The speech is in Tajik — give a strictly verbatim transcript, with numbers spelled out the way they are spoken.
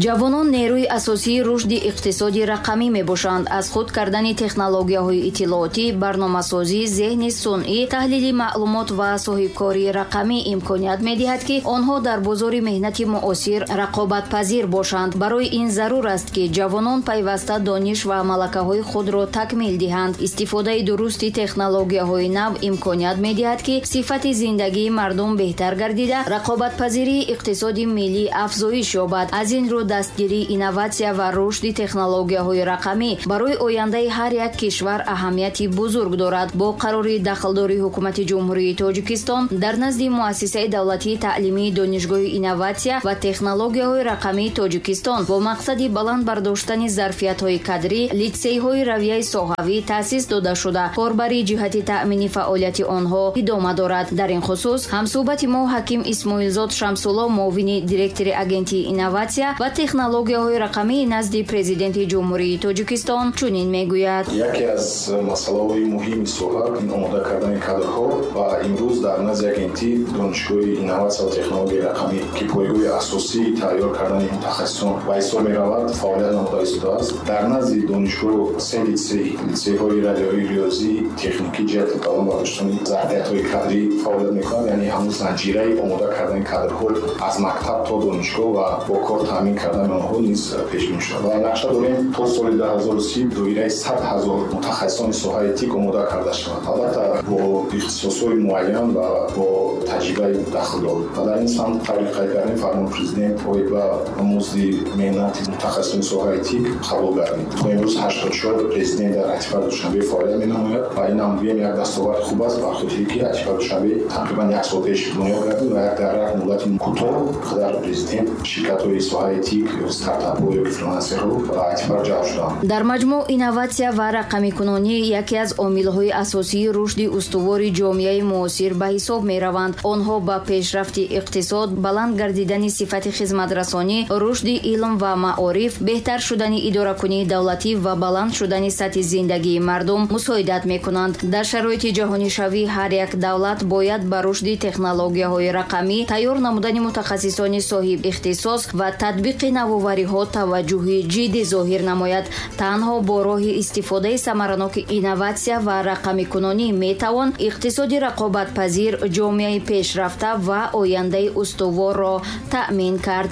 Ҷавонон нерӯи асосии рушди иқтисоди рақамӣ мебошанд. Аз худ кардани технологияҳои иттилоотӣ, барномасозӣ, зеҳни сунъӣ, таҳлили маълумот ва соҳибкории рақамӣ имконият медиҳад, ки онҳо дар бозори меҳнати муосир рақобатпазир бошанд. Барои ин зарур аст, ки ҷавонон пайваста дониш ва малакаҳои худро такмил диҳанд. Истифодаи дурусти технологияҳои нав имконият медиҳад, ки сифати зиндагии мардум беҳтар гардида, рақобатпазирии иқтисоди миллӣ афзоиш ёбад. Аз ин рӯ дастгирии инноватсия ва рушди технологияҳои рақамӣ барои ояндаи ҳар як кишвар аҳамияти бузург дорад. Бо қарори дахлдори Ҳукумати Ҷумҳурии Тоҷикистон дар назди Муассисаи давлатии таълимии Донишгоҳи инноватсия ва технологияҳои рақамии Тоҷикистон бо мақсади баланд бардоштани зарфиятҳои кадрӣ литсейҳои равияи соҳавӣ таъсис дода шуда, корбарии ҷиҳати таъмини фаъолияти онҳо идома дорад. Дар ин хусус ҳамсӯҳбати мо Ҳаким Исмоилзод Шамсулло, муовини директори Агентии инноватсия ва технологияҳои рақамии назди Президенти Ҷумҳурии Тоҷикистон чунин мегӯяд. Яке аз масъалаҳои муҳими соҳа ин омода кардани кадрҳо ва имрӯз дар назди Агентии Донишгоҳи инноватсия ва технологияи рақамӣ, ки пойгоҳи асосии тайёр кардани мутахассисон ба ҳисоб меравад, фаъолият намуда истодааст. Дар назди донишгоҳ се литсей, литсейҳои радиои, риёзӣ, техникӣ ҷиҳати баланд бардоштани зарфиятҳои кадрӣ фаъолият мекунад. Яъне ҳамун занҷираи омода кардани кадрҳо аз мактаб то донишгоҳ ва бо кор таъмин кардани онҳо низ пешбинӣ шуда ва нақша дорем, то соли ду ҳазору си доираи сад ҳазор мутахассисони соҳаи ТИК омода карда шавад, албатта бо ихтисосҳои муайян ва бо таҷрибаи дахлдор. Ва дар ин самт, таври қайд кардем, фармони Президент оид ба музди меҳнати мутахассисони соҳаи ТИК қабул гардид. То имрӯз ҳаштоду чор резидент дар АйТиПарк Душанбе фаъолият менамояд ва ин ҳам гӯем, як дастоварди хуб аст, ба хотире ки АйТиПарк Душанбе тақрибан як сол пеш бунёд гардид ва як дар як муддати кӯтоҳ қадар резидент, ширкатҳои соҳаи ТИК ё стартапҳо ё ки фрилансерҳо ба АйТиПарк ҷалб шуданд. Дар маҷмӯъ, инноватсия ва рақамикунонӣ яке аз омилҳои асосии рушди устувори ҷомеаи муосир ба ҳисоб мераванд. Онҳо ба пешрафти иқтисод, баланд гардидани сифати хизматрасонӣ, рушди илм ва маориф, беҳтар шудани идоракунии давлатӣ ва баланд шудани сатҳи зиндагии мардум мусоидат мекунанд. Дар шароити ҷаҳонишавӣ ҳар як давлат бояд ба рушди технологияҳои рақамӣ, тайёр намудани мутахассисони соҳиб ихтисос ва татбиқи навовариҳо таваҷҷӯҳи ҷиддӣ зоҳир намояд. Танҳо бо роҳи истифодаи самараноки инноватсия ва рақамикунонӣ метавон иқтисоди рақобатпазир, ҷомеаи пешрафта ва ояндаи устуворро таъмин кард.